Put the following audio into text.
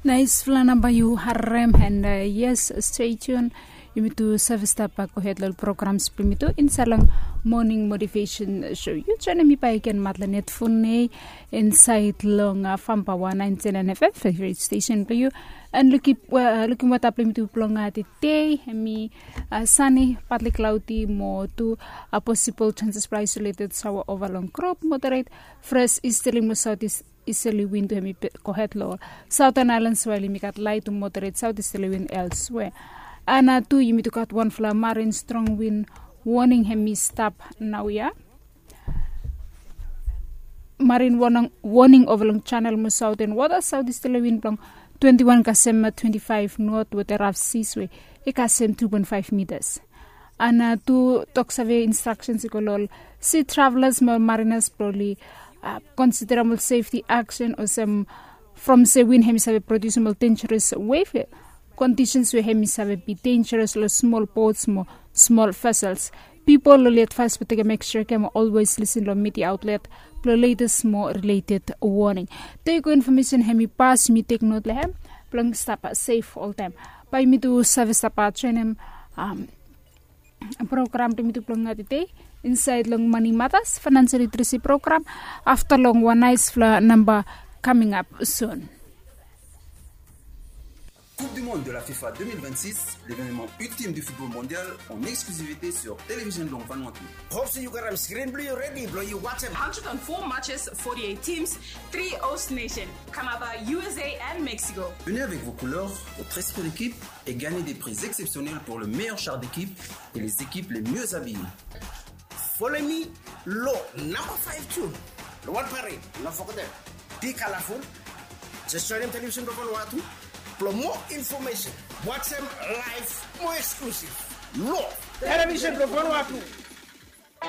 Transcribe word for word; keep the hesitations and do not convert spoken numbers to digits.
Naisfala namba yu harem, and yes, stay tune. Yumi tu save stap gohed long programs bilong yumi tu insaed long Morning Motivation Show. Yu joinim mi baik gen Matlanet Funei insaed long Famba one ninety-nine F M, favorite station bilong yu. And lukim weta bilong yumi tu bilong tede, hemi sunny, partly cloudy, mo tu possible chances bilong isolated shower over long group, moderate fresh easterly mo southeast easterly wind tu hemi gohed long Southern Islands, while yumi gat light tu moderate southeasterly wind elsewhere. And tu yumi tu gat wanfala marine strong wind warning hemi stap naoia. Marine warning over long channel mo southern water, southeasterly wind bilong twenty-one kasem twenty-five knot with a rough seas wave, i kasem two point five meters. And tu tok save instructions i go long ol sea travelers mo ol mariners bilong oli consider ol safety action olsem from se wind hemi save produce ol dangerous wave conditions we hemi save be dangerous long small boats mo small vessels. Pipol oli advise blong tekem extra care mo always listen long media outlet blong latest mo related warning. Tek information hemi pas, yumi tek note long hem blong stap safe oltaem. Bae yumi tu save stap joinim program bilong yumi tu bilong tede insaed long Money Matters, financial literacy program, afta long wan naisfala namba coming up soon. Coupe du Monde de la FIFA deux mille vingt-six, l'événement ultime du football mondial en exclusivité sur Télévision Long Vanuatu. Hope se yu gat am screen blong yu ready blong yu wantem. Hundred and four matches, forty-eight teams, three host nation, Canada, U S A and Mexico. Venez avec vos couleurs, votre esprit d'équipe et gagnez des prix exceptionnels pour le meilleur char d'équipe et les équipes les mieux habillées. Follow me long namba five tu long wan parade, no forget dem. Be colorful. Just joinim Television blong Vanuatu blong more information. Wantem live, more exclusive. Long Television blong Vanuatu.